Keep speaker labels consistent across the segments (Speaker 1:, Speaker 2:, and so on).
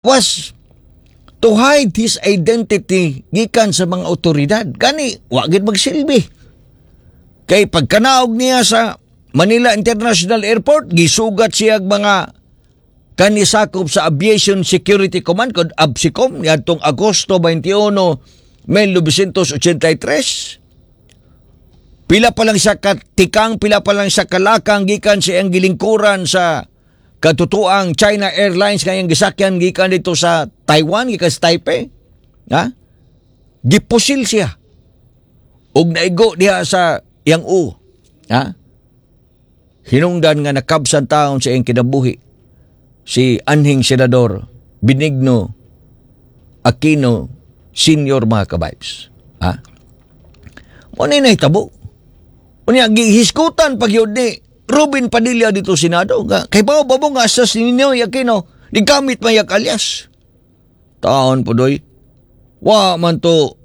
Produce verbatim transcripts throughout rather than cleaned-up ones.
Speaker 1: Was to hide his identity gikan sa mga otoridad. Gani, wa gid magsilbi. Kay pagkanaog niya sa Manila International Airport, gisugat siya og mga kanisakop sa Aviation Security Command kod AVSECOM niadtong Agosto twenty-one, nineteen eighty-three. Pila pa lang siya katikang, pila pa lang siya kalakang gikan sa iyang gilingkuran sa katutuang China Airlines nga iyang gisakyan gikan dito sa Taiwan, gikan sa Taipei. Ha? Gipusil siya. Og naigo diha sa iyang u. Ha? Hinungdan nga nakabsan taon sa iyang kinabuhi si anhing Senador Benigno Aquino Senior, mga kabibes. Ha? Mo ni nahitabo. Unya gihiskutan pag yun ni Robin Padilla dito Senado nga kay bao ba mo nga sa si Ninoy Aquino gigamit mayak alias. Taon po doy. Wa man to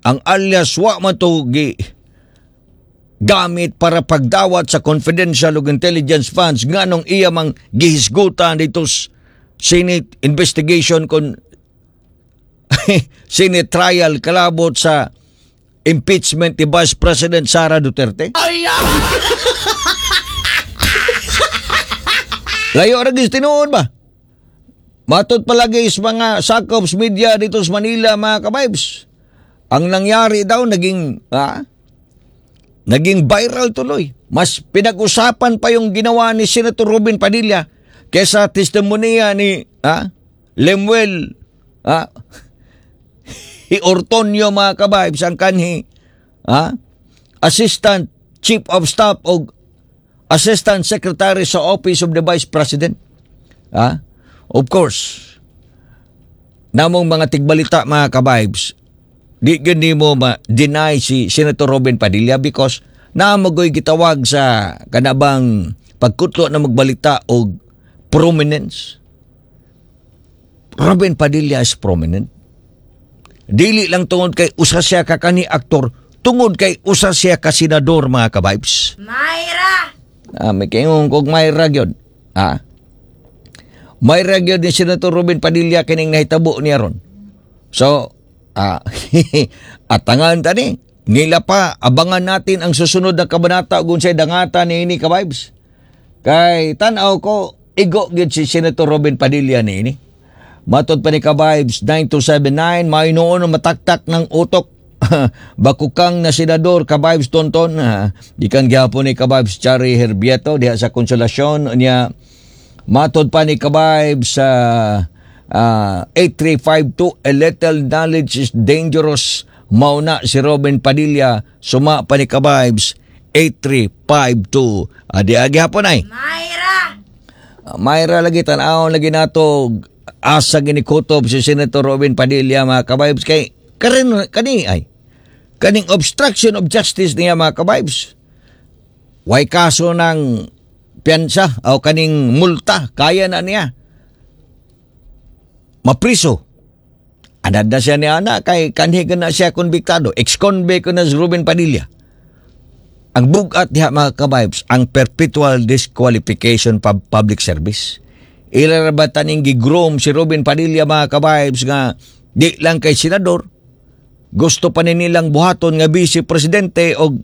Speaker 1: ang alias, wa man to gi gamit para pagdawat sa confidential ug intelligence funds, nganong iya mang gihisgutan dito sa Senate investigation kon Senate trial kalabot sa impeachment ni Vice President Sara Duterte?
Speaker 2: Ay!
Speaker 1: Layo ra gis tinuod ba? Matod palagi sa mga sakop sa media dito sa Manila, mga kabibes. Ang nangyari daw, naging ah, naging viral tuloy. Mas pinag-usapan pa yung ginawa ni Senator Robin Padilla kaysa testimonya ni ah, Lemuel ah, Ortonio, mga kabibes, ang kanhi ah, Assistant Chief of Staff o Assistant Secretary sa Office of the Vice President. Ah? Of course, namong mga tigbalita, mga kabibes, di gyud nimo ma-deny si Senator Robin Padilla because naamagoy gitawag sa kanabang pagkutlo na magbalita og prominence. Robin Padilla is prominent. Dili lang tungod kay usa siya ka kani aktor, tungod kay usa siya ka senador, mga kabibes.
Speaker 3: Mayra!
Speaker 1: Ah, may kaingon kog mayra gyud. Ah. Mayra gyud ni Senator Robin Padilla kining nahitabo niya ron. So, ah, atangan ta ni. Nila pa, abangan natin ang susunod na kabanata ug unsay dangata ni ini, ka-vibes. Kay tan-aw ko, igo gyud si Senator Robin Padilla ni ini. Matod pa ni ka-vibes nine two seven nine, may noon mataktak ng utok. Bakukang na senador, ka-vibes Tonton. Ah, gikan gyapon ni ka-vibes Chari Herbieto diha sa Konsolasyon niya. Matod pa ni ka-vibes sa uh, eight three five two, "A little knowledge is dangerous." Mauna si Robin Padilla, suma pa ni ka-vibes eight three five two. Adi agi hapon ay.
Speaker 3: Mayra!
Speaker 1: Uh, Mayra lagi, tan-awon lagi nato asa ginikutob si Senator Robin Padilla, mga kabibes, kay karin kani ay kaning obstruction of justice niya, mga kabibes. Way kaso ng piyansa o kaning multa, kaya na niya mapriso. Anad na siya ni ana kay kanhi na siya konbiktado. Ex-convict na si Ruben Padilla. Ang bugat diha, mga kabibes, ang perpetual disqualification pub public service. Ila ra ba taning gi-groom si Ruben Padilla, mga kabibes, nga di lang kay senador, gusto pa ni nilang buhaton nga vice presidente og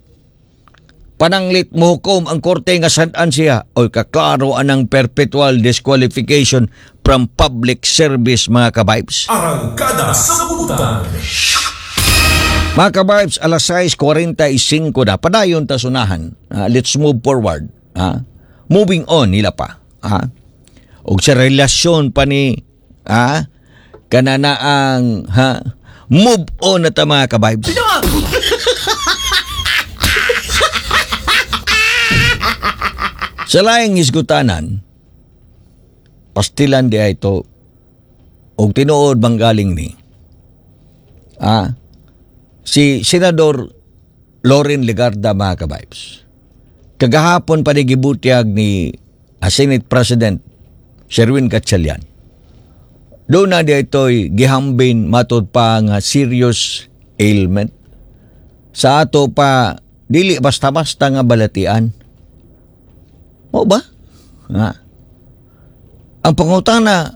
Speaker 1: pananglit mohukom ang korte nga sad-an siya. Oy, kaklaro anang perpetual disqualification from public service, mga kabibes.
Speaker 2: Arangkada sa Butan.
Speaker 1: Mga kabibes, alas sais kuwarenta y singko na. Padayon ta sunahan. Ah, let's move forward. Ah, moving on nila pa. Ah, og sa relasyon pa ni ah, kanana ang ha, move on na ta, mga kabibes. Sa laing hisgutanan, pastilan di ay ito og tinuod bang galing ni ah, si Senador Loren Legarda, mga kabibes. Kagahapon pa ni gibutyag ni ah, Senate President Sherwin Gatchalian. Doon na di ito'y gihambin matod pa nga serious ailment. Sa ato pa, dili basta-basta nga balatian. Mo ba? Ha? Ang pangutana,